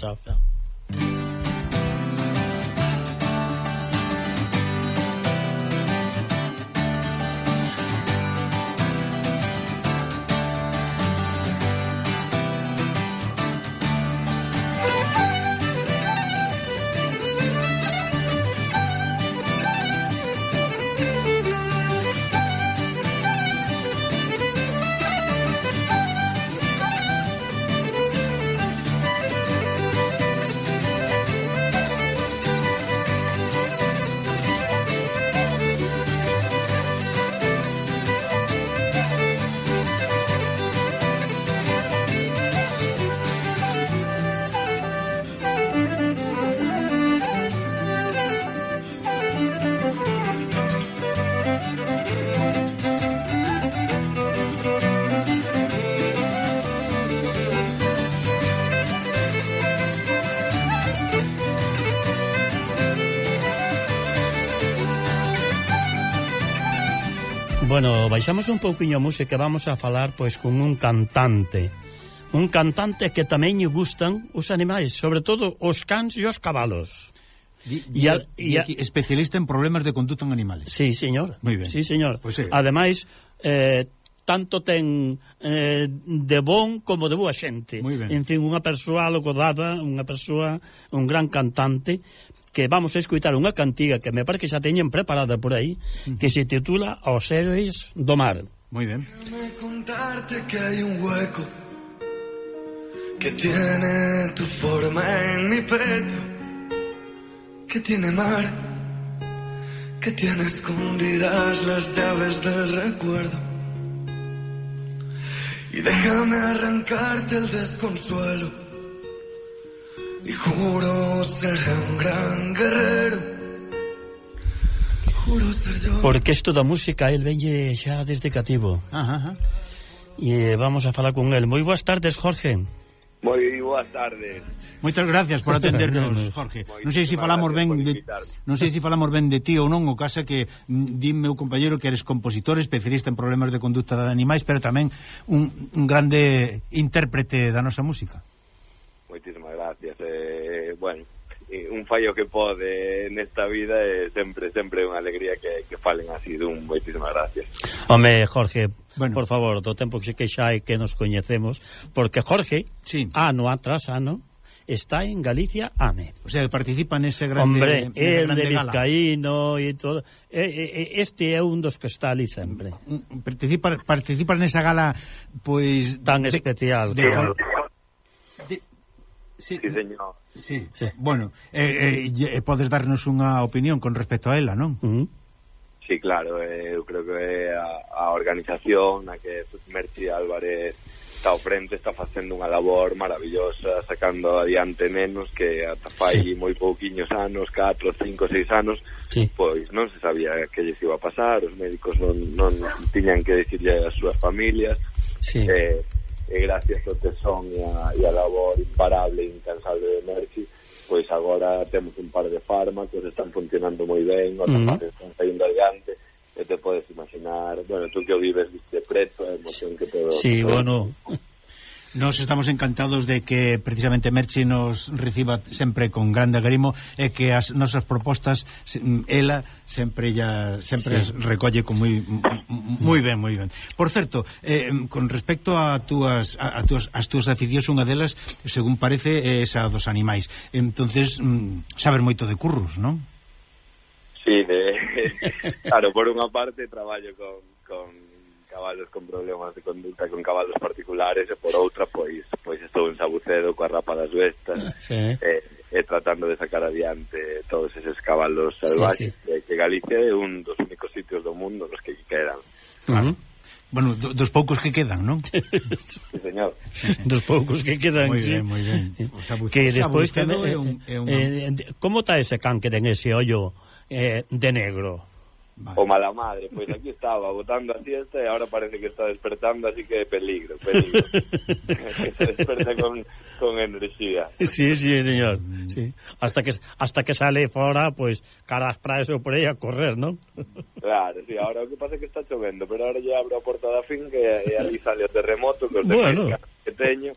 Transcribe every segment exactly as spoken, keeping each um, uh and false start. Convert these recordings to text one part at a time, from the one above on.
Chao, chao. Bueno, baixamos un pouquiño a música e vamos a falar pois con un cantante. Un cantante que tamén lle gustan os animais, sobre todo os cans e os cabalos. Y, y, a, y a, especialista en problemas de conducta en animales. Sí, señor. Muy ben. Sí, señor. Pues sí. Ademais, eh, tanto ten eh, de bon como de boa xente. Muy ben. En fin, unha persoa logorada, unha persoa, un gran cantante, que vamos a escutar unha cantiga que me parece que xa teñen preparada por aí, uh-huh. que se titula Os héroes do mar. Muy bien. Déjame contarte que hay un hueco que tiene tu forma en mi pecho, que tiene mar, que tiene escondidas las llaves del recuerdo. Y déjame arrancarte el desconsuelo, y juro ser un gran guerrero, juro ser yo. Porque isto da música el venlle xa desde cativo. Ajá, ajá. E vamos a falar con el. Moi boas tardes, Jorge. Moi boas tardes. Moitas gracias por atendernos, Jorge. Non sei se falamos ben de, non sei se falamos ben de ti ou non, o caso que di meu compañeiro que eres compositor, especialista en problemas de conduta de animais, pero tamén un, un grande intérprete da nosa música. Moitísimas gracias. Eh, bueno, un fallo que pode nesta vida é sempre sempre unha alegría que, que falen así dun. Moitísimas gracias. Home, Jorge, bueno, por favor, do tempo que que xa hai que nos coñecemos, porque Jorge, sí, ano tras ano, está en Galicia Ame. O sea, participa nese grande, hombre, el grande de Vizcaíno e todo. Este é un dos que está ali sempre. Participa, participa nesa gala, pois... Tan de, especial. De, claro. de, sí, sí, señor. Sí, sí. Bueno, eh, eh, podes darnos unha opinión con respecto a ela, non? Uh-huh. Sí, claro, eh, eu creo que a, a organización na que Merchi Álvarez está ao frente, está facendo unha labor maravillosa, sacando adiante nenos que ata fai sí. moi pouquiños anos, catro, cinco, seis anos, sí. pois non se sabía que lles iba a pasar, os médicos non, non tiñan que decirle ás súas familias, sí. eh, e gracias ao tesón e a, e a labor imparable e incansable de Merchi, pois agora temos un par de fármacos, están funcionando moi ben, outras uh-huh. partes están saindo adiante, e te podes imaginar, bueno, tú que o vives de preto, a emoción que todo... Sí, todo bueno... Nos estamos encantados de que precisamente Merchi nos reciba sempre con grande agrimo e que as nosas propostas ela sempre ya sempre sí. recolle con moi moi ben, moi ben. Por certo, eh, con respecto a túas a, a túas as túas aficións, unha delas, según parece, é esa dos animais. Entonces, mm, saber moito de curros, non? Sí, de, claro, por unha parte traballo con, con cabalos con problemas de conducta, con cabalos particulares, e por outra, pois pois estou en Sabucedo coa Rapa das Vestas, sí. e, e tratando de sacar adiante todos eses cabalos salvajes, sí, sí. que Galicia é un dos únicos sitios do mundo nos que quedan. Uh-huh. Bueno, do, dos poucos que quedan, non? Sí, señor. Dos poucos que quedan, moi sí. ben, moi ben. O Sabucedo, que despois tamén, é un, é un... eh, como está ese can que ten ese ollo eh, de negro? Vale. O mala madre, pois aquí estaba botando a siesta e ahora parece que está despertando, así que peligro, peligro. Que se desperta con, con enerxía. Sí, sí, señor. Sí. Hasta que hasta que sale fora, pois pues, caras para eso por aí a correr, ¿no? Claro, sí, ahora o que pasa é que está chovendo, pero ahora ya abro a porta da finca e, e ali sale o terremoto que os bueno. de pesca que teño,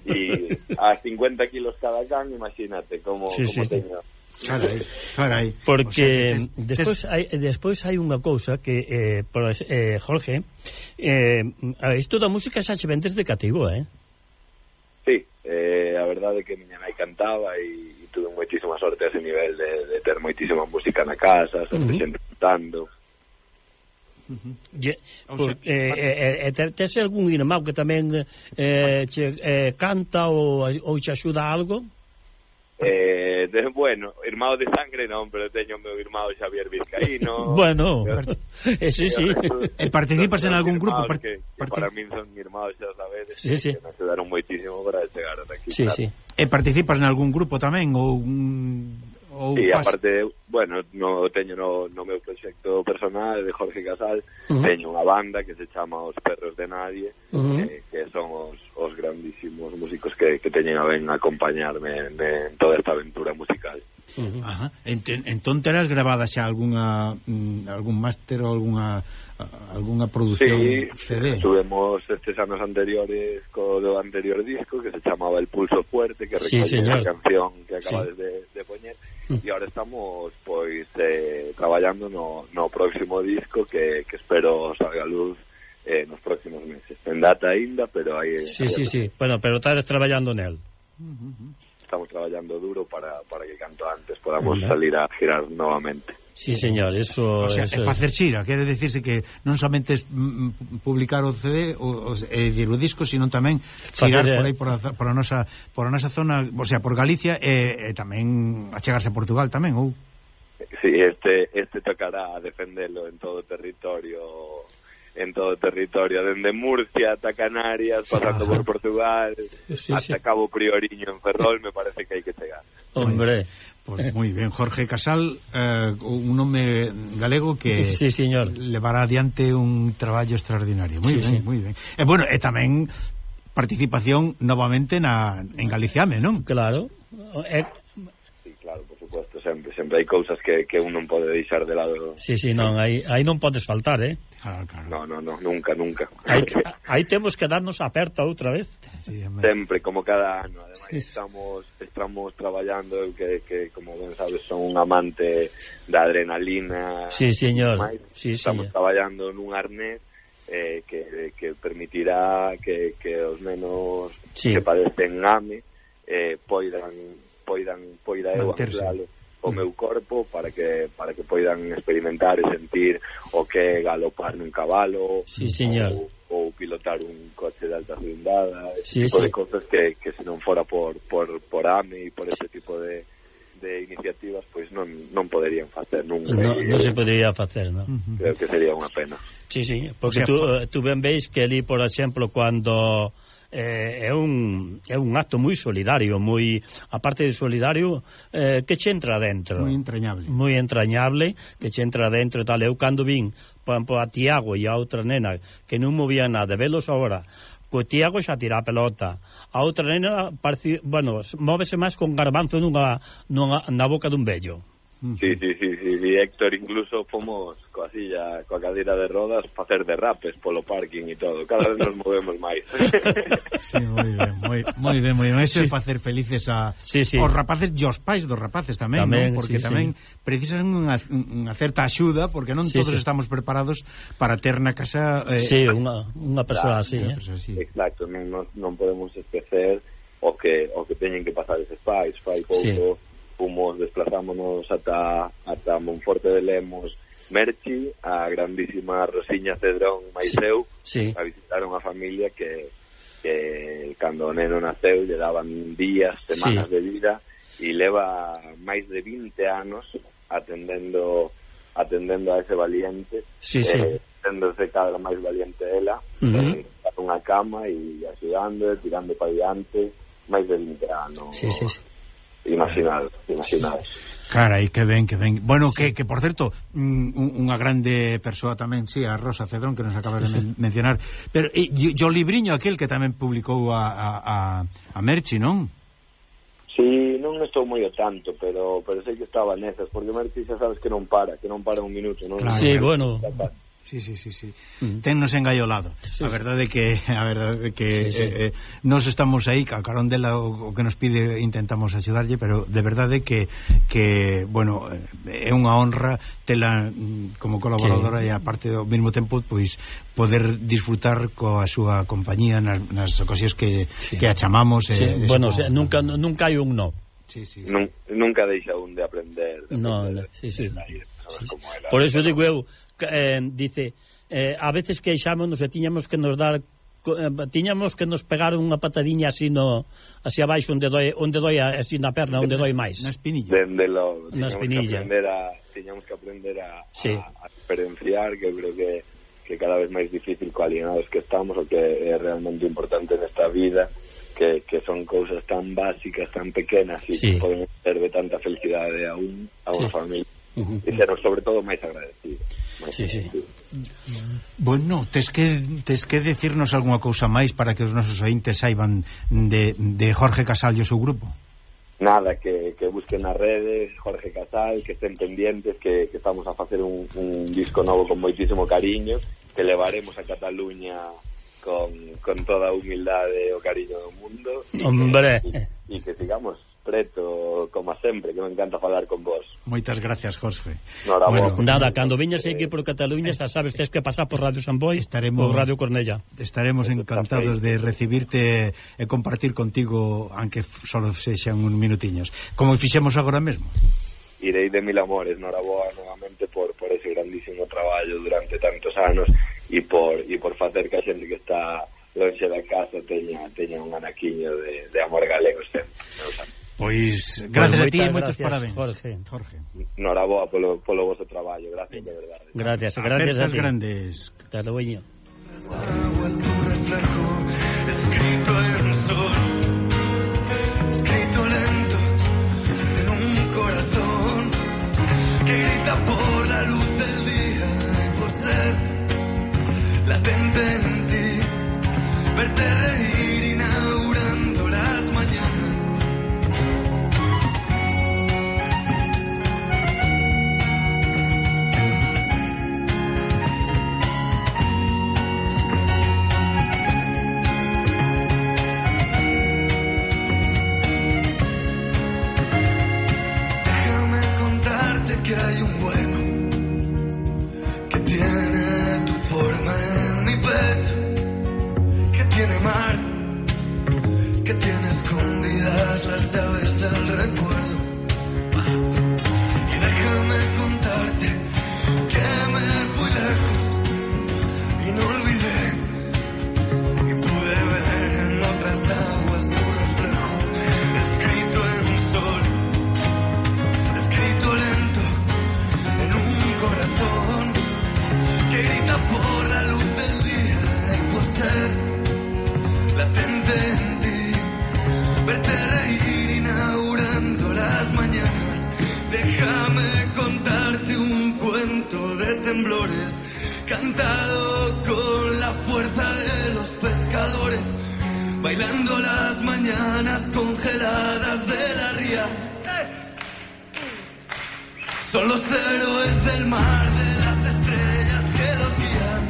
e a cincuenta kilos cada can, imagínate como, sí, como sí, teño. Carai, carai. Porque o sea, tes, despois hai despois hai unha cousa que eh, por, eh Jorge, eh isto da música xa che ven desde cativo, eh? Sí, eh, a verdade é que miña nai cantaba e, e tuve moitísima sorte a ese nivel de, de ter moitísima música na casa, sempre uh -huh. xente cantando. Uh -huh. Ye, por, sea, eh, eh, eh, tes algún irmão que tamén eh, che, eh, canta ou, ou che axuda a algo? Eh, de, bueno, irmão de sangre non, pero teño o meu irmão Xavier Vizcaíno. Bueno, pero, eh, sí, sí. E participas en algún grupo? Part que, que para min son irmãos, xa sabedes, sí, sí. que me axudaron moitísimo para chegar ata aquí. Sí, claro. sí. E participas en algún grupo tamén ou un ou sí, faz... aparte, bueno, no teño no, no meu proxecto personal de Jorge Casal, uh -huh. teño unha banda que se chama Os Perros de Nadie, uh -huh. eh, que son os, os grandísimos músicos que, que teñen a ben acompañarme en, en toda esta aventura musical. Uh -huh. Ajá. Ent entón terás grabada xa algunha mm, algún máster ou algunha algunha produción sí, C D? Tuvemos estes anos anteriores co do anterior disco que se chamaba El Pulso Fuerte, que recolle sí, a canción que acabades sí. de, de poñer, e agora estamos pois eh, traballando no, no próximo disco que, que espero salga a luz eh, nos próximos meses. En data aínda, pero aí... Sí, sí, sí, bueno, pero estás traballando nel. Uh -huh. Estamos traballando duro para, para que canto antes podamos uh -huh. salir a girar novamente. Sí, señor, eso... O sea, eso é facer xira, quere decirse que non somente es mm, publicar o C D o, o, e dir o disco, sino tamén xirar facer, por aí por a, por a nosa por a nosa zona, o sea, por Galicia e, e tamén achegarse a Portugal tamén, ou? Sí, este este tocará defendelo en todo o territorio en todo o territorio, dende Murcia ata Canarias, pasando ah. por Portugal, sí, hasta sí. Cabo Prioriño en Ferrol, me parece que hai que chegar. Hombre, pues moi ben, Jorge Casal, eh, un nome galego que sí, señor. levará adiante un traballo extraordinario. Moi sí, ben, sí. moi ben. E bueno, e tamén participación novamente na en Galiciame, non? Claro. E sí, claro, por supuesto, sempre sempre hai cousas que que un non pode deixar de lado. Sí, sí, non, aí aí non podes faltar, eh? Claro, claro. No, no, no, nunca, nunca. Aí, aí temos que darnos aperta outra vez. Sí, sempre, como cada ano. Ademais, sí. estamos estamos traballando, que, que como ben sabes, son un amante da adrenalina. Sí, señor. Mais, sí, estamos sí. traballando nun arnés eh, que, que permitirá que, que os nenos sí. que padecen AME eh, poidan poidan poida eu anuncialo o meu corpo para que para que poidan experimentar e sentir o que é galopar nun cabalo, sí, señor. Ou, ou pilotar un coche de alta cilindrada, sí, tipo sí. de cosas que, que se non fora por, por, por AME e por este tipo de, de iniciativas, pois non, non poderían facer nunca. No, non se podería facer, non? Creo que sería unha pena. Sí, sí, porque o sea, tú, tú ben veis que ali, por exemplo, cando eh, é un é un acto moi solidario, moi aparte de solidario, eh, que che entra dentro. Moi entrañable. Moi entrañable, que che entra dentro e tal. Eu cando vin, por exemplo, a Tiago e a outra nena que non movía nada, velos agora, co Tiago xa tira a pelota. A outra nena, parece, bueno, móvese máis con garbanzo nunha, nunha, na boca dun vello. Sí, sí, sí, sí, sí, Héctor, incluso fomos coa silla, coa cadeira de rodas facer derrapes polo parking e todo, cada vez nos movemos máis. Sí, moi ben, moi, moi ben, moi ben. Eso sí. É facer felices a sí, sí. os rapaces e os pais dos rapaces tamén, tamén ¿no? Porque sí, tamén sí. precisan unha, unha certa axuda, porque non sí, todos sí. estamos preparados para ter na casa eh, sí, unha, unha persoa así, eh? así. Exacto, non, non, non podemos esquecer o que o que teñen que pasar eses pais, fai pouco sí. Fomos, desplazámonos ata, ata Monforte de Lemos, Merchi, a grandísima Rosiña Cedrón Maiseu, sí. Sí. a visitar unha familia que, que cando o neno naceu lle daban días, semanas sí. de vida, e leva máis de vinte anos atendendo atendendo a ese valiente, sí, eh, sí. tendose cada máis valiente ela, uh -huh. eh, unha cama e axudando, tirando para diante, máis de vinte anos. Sí, sí, sí. Imaginado, imaginado. Carai, que ben, que ben. Bueno, sí. que, que por certo, un, unha grande persoa tamén, sí, a Rosa Cedrón, que nos acabas de men mencionar, pero e, o libriño aquel que tamén publicou a, a, a, a Merchi, non? Sí, non estou moi ao tanto, pero pero sei que estaba nesas, porque Merchi xa sabes que non para, que non para un minuto, non? Claro. Sí, bueno. Sí, sí, sí, sí. Mm. Tennos engaiolado. Sí, a verdade é que a verdade é que sí, sí. Eh, eh, nos estamos aí, a carón dela o, o que nos pide intentamos axudarlle, pero de verdade que que, bueno, é unha honra tela como colaboradora sí. E aparte ao mesmo tempo, pois poder disfrutar coa súa compañía nas, nas ocasións que, sí. que a chamamos. Sí. Eh, bueno, se, nunca nunca hai un no. Sí, sí, sí. Nun, nunca deixa un de aprender. De no, aprender, no, sí, sí. de saber sí. Como era. Por eso digo eu, eh, dice, eh, a veces queixámonos e tiñamos que nos dar eh, tiñamos que nos pegar unha patadiña así no así abaixo onde doi, onde doi así na perna, onde doi máis. Na espinilla. Dende lo, na espinilla. Que a, tiñamos que aprender a, sí. a, a experienciar, que eu creo que, que cada vez máis difícil co alienados que estamos, o que é realmente importante nesta vida, que, que son cousas tan básicas, tan pequenas e sí. que poden ser de tanta felicidade a un, a unha sí. familia. Uh-huh. E ser sobre todo máis agradecido. Sí, sí. Bueno, tes que tes que decirnos algunha cousa máis para que os nosos ointes saiban de, de Jorge Casal e o seu grupo. Nada, que, que busquen nas redes Jorge Casal, que estén pendientes, que, que estamos a facer un, un disco novo con moitísimo cariño, que levaremos a Cataluña con, con toda a humildade e o cariño do mundo. Hombre! E que, que sigamos preto, como sempre, que me encanta falar con vos. Moitas gracias, Jorge. Bueno, nada, cando viñas aquí por Cataluña, xa sabes, tens que pasar por Radio San Boi ou Radio Cornella. Estaremos encantados de recibirte e compartir contigo, aunque solo sexan uns minutiños. Como fixemos agora mesmo. Irei de mil amores, noraboa novamente por, por ese grandísimo traballo durante tantos anos e por, e por facer que a xente que está longe da casa teña, teña un anaquiño de, de amor galego sempre. Pois, gracias pues a ti e moitos parabéns, Jorge. Jorge. Noraboa polo, polo vosso traballo, gracias de verdade. Gracias, gracias a ti. Grandes. Te lo voy. Agua es tu reflejo, escrito en sol, escrito lento en un corazón que grita por la luz del día y por ser latente en ti, verte reír inaugurando las mañanas. Que hay un hueco que tiene tu forma en mi pecho, que tiene mar, que tiene escondidas las llaves del recuerdo. Y déjame contarte que me fui lejos y no olvidé, y pude ver en otras aguas tu reflejo, escrito en sol, escrito lento en un corazón que grita por la luz del día y por ser latente en ti, verte reír inaugurando las mañanas. Déjame contarte un cuento de temblores cantado con la fuerza de los pescadores, bailando las mañanas congeladas de la ría. Son los héroes del mar, de las estrellas que los guían,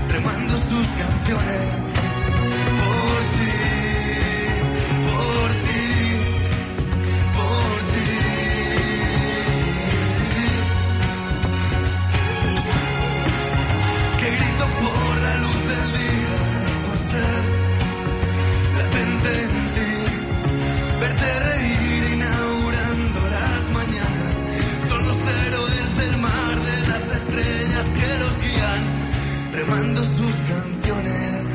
remando sus canciones por ti, por ti, por ti. Que grito por la luz del día, por ser latente en ti, verte reír inaugurando las mañanas. Son los héroes del mar, de las estrellas que los guían, remando sus canciones.